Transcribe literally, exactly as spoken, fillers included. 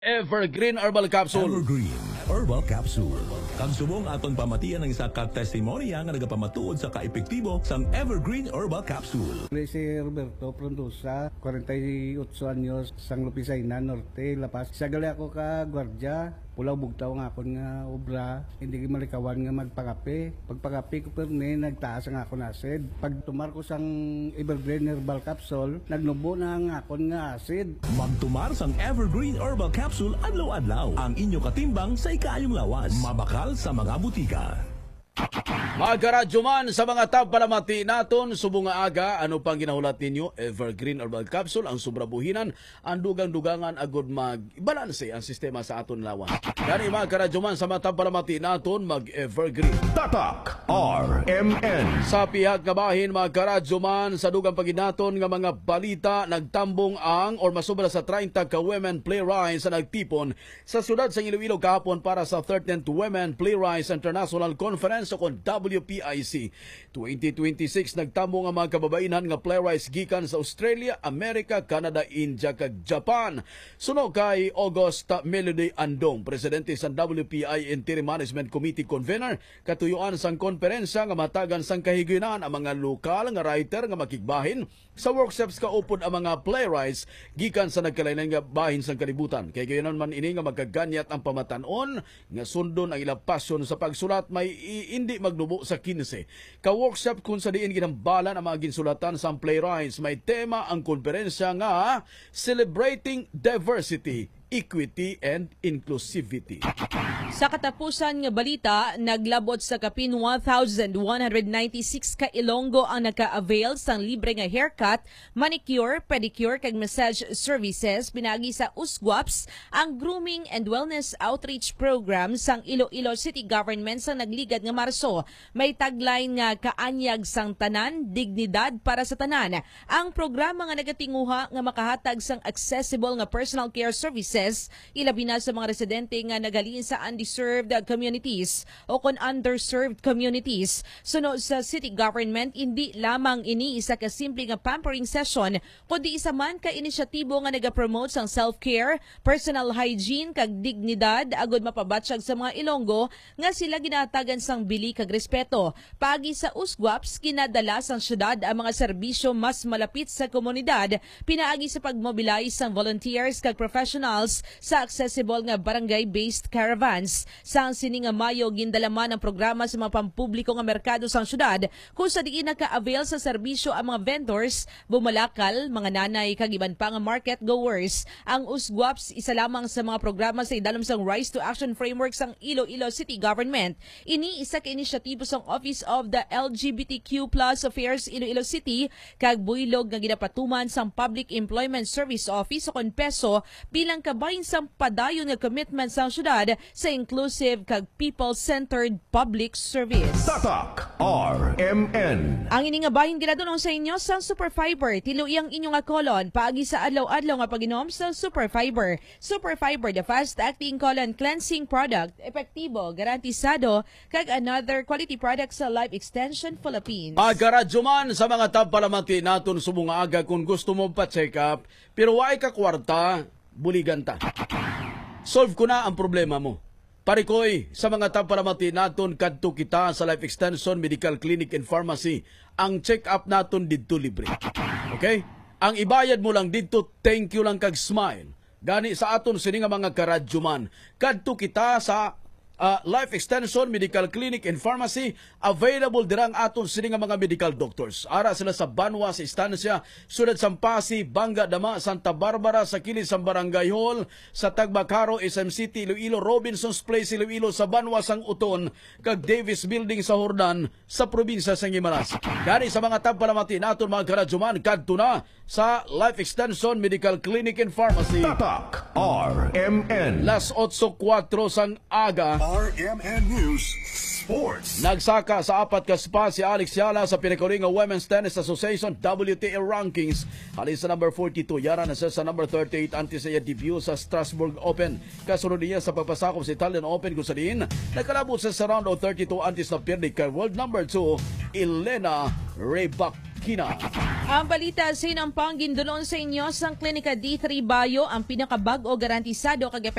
Evergreen Herbal Capsule. Evergreen Herbal Capsule. Kag subong aton pamatian ang isa ka testimonya nga nagapamatuod sa kaepektibo sang Evergreen Herbal Capsule. Kami si Roberto Frondosa, forty-eight anyos, sang Lupisayna Norte, La Paz. Isa gali ako ka gwardiya, pulaw bugtaw ang akon nga obra, hindi malikawan nga magpangape. Pagpangape ko pirmi, nagtaas ang akon acid. Pagtumar ko sang Evergreen Herbal Capsule, nagnubo na ang akon nga acid. Magtumar sang Evergreen Herbal Capsule adlaw-adlaw. Ang inyo katimbang sa ikaayong lawas. Mabakal sa mga butika. Mga karadyo man, sa mga tagpalamati naton subong nga aga, ano pang ginahulat ninyo? Evergreen Herbal Capsule, ang sobra buhinan, ang dugang-dugangan agud magbalanse ang sistema sa aton lawas. Gani, mga karadyo man, sa mga tagpalamati naton, mag-Evergreen. Tatak R M N. Sa pihak nga bahin, mga karadyo man, sa dugang paginaton nga mga balita, nagtambong ang or masobra sa treinta ka women playwrights na nagtipon sa siyudad sa Iloilo kahapon para sa thirteenth Women Playwrights International Conference o kon W P I C twenty twenty-six. Nagtambong ang mga kababainhan nga playwrights gikan sa Australia, America, Canada, India, kag Japan. Suno kay August Melody Andong, presidente sa W P I Interim Management Committee Convener, katuyuan sang konferensya nga matagan sang kahigayunan ang mga lokal nga writer nga makigbahin sa workshops kaupod ang mga playwrights gikan sa nagkalain-lain nga bahin sang kalibutan. Kay gayon man ini nga magkaganyat ang pamatan-on nga sundon ang ilang pasyon sa pagsulat may i- indi magnubo sa quince ka workshop, kung sa diin ginhambalan ang mga ginsulatan sang playwrights. May tema ang konferensya nga Celebrating Diversity, Equity, and Inclusivity. Sa katapusan nga balita, naglabot sa kapin one thousand one hundred ninety-six ka Ilonggo ang naka-avail sang libre nga haircut, manicure, pedicure, kag massage services pinaagi sa Usguaps, ang Grooming and Wellness Outreach Program sang Iloilo City Government sa nagligad nga Marso. May tagline nga "Kaanyag sang tanan, dignidad para sa tanan." Ang programa nga nagatinguha nga makahatag sang accessible nga personal care services, ilabi na sa mga residente nga naghalin sa undeserved communities o kon underserved communities. Suno sa city government, indi lamang ini isa ka simple nga pampering session, kundi isa man ka inisyatibo nga nagapromote sang self-care, personal hygiene, kag dignidad, agud mapabatyag sa mga Ilonggo nga sila ginahatagan sang bili kag respeto. Paagi sa Usguaps, ginadala sang syudad ang mga serbisyo mas malapit sa komunidad, pinaagi sa pag-mobilize sang volunteers kag professionals sa accessible nga barangay-based caravans. Sang sini nga Mayo, gindala man ang programa sa mga pampubliko nga merkado sang syudad, kung sa diin naka-avail sa serbisyo ang mga vendors, bumalakal, mga nanay, kag iban pa nga market goers. Ang Usguaps isa lamang sa mga programa sa idalom sang Rise to Action Framework sang Iloilo City Government. Ini isa ka inisyatibo sang Office of the L G B T Q plus Affairs Iloilo City kag buylog nga ginapatuman sang Public Employment Service Office o kon PESO bilang kabahin sang padayon nga commitment sang syudad sa inclusive kag people-centered public service. Tatak R M N. Ang ini nga bahin ginadunong sa inyo sang Superfiber. Tiluyi ang inyo nga kolon paagi sa adlaw-adlaw nga pag-inom sang Superfiber. Superfiber, the fast-acting colon cleansing product, epektibo, garantisado, kag another quality product sa Life Extension Philippines. Pagkaradyo man sa mga tagpalamati naton subong nga aga, kung gusto mo pa-check up pero way ka kwarta, buligan ta. Solve ko na ang problema mo. Parikoy, sa mga tagpalamati naton, kadto kita sa Life Extension Medical Clinic and Pharmacy. Ang check-up naton didto libre. Okay? Ang ibayad mo lang didto, thank you lang kag smile. Gani sa aton sini nga mga karadyoman, kadto kita sa ah, Life Extension Medical Clinic and Pharmacy. Available dira ang aton sini nga mga medical doctors. Ara sila sa Banwa, sa Estancia, Siyudad sang Passi, Banga, Dama, Santa Barbara, sa kilid sang Barangay Hall, sa Tagbakaro, S M City, Iloilo, Robinson's Place, Iloilo, sa Banwa sang Uton, kag Davis Building sa Hordan, sa probinsya sang Guimaras. Gani sa mga tagpalamati naton, mga karadyoman, kadto na sa Life Extension Medical Clinic and Pharmacy. Tatak R M N. Las otso kuwatro sang aga. R M N News Sports. Nagsaka sa apat ka spot si Alex Yala sa pinakauli nga Women's Tennis Association W T A rankings. Halin sa number forty-two, yara na siya sa number thirty-eight antes sa iya debut sa Strasbourg Open. Kasunod niya sa pagpasakop sa Italian Open, kung sa diin nakalabot sa, sa round of thirty-two antes na pierde kay world number two, Elena Rybak. Kina. Ang balita sa hinampang gindulon sa inyo sang Klinika D three Bio, ang pinakabag-o, garantisado kag